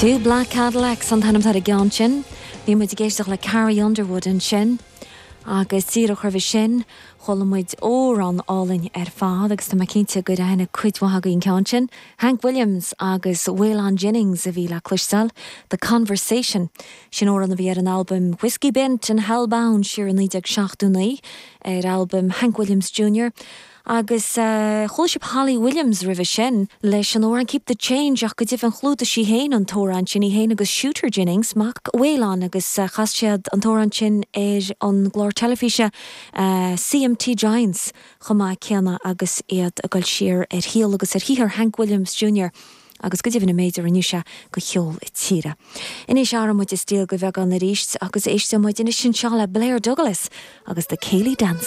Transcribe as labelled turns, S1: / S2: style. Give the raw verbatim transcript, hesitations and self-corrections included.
S1: Two Black Cadillacs an t-ainm ar an gceann sin, Bhí muid ag éisteacht le Carrie Underwood ansin, agus díreach roimhe sin chuala muid amhrán álainn ar fad agus tá mé cinnte gur aithin cuid mhaith agaibh an ceann sin. Hank Williams agus Waylon Jennings a bhí le cloisteáil, The Conversation sin amhrán a bhí ar an album Whiskey Bent and Hellbound siar naoi déag seachtó naoi ar album Hank Williams Jr. Agus uh, chuala sibh Holly Williams roimhe sin leis an amhrán Keep the Change ach go deimhin chlúdaigh sí féin an t-amhrán sin í féin agus Shooter Jennings mac Waylon agus uh, chas siad an t-amhrán sin ar an gclár teilifíse uh, CMT Giants chomh maith céanna agus iad ag dul siar ar shaol agus ar shaothar Hank Williams Jr. agus go deimhin an méid a rinne sé do cheol na tíre. Anois athróidh muid stíl go beagán arís agus éistfidh muid anois anseo le Blair Douglas agus the Céilí Dance.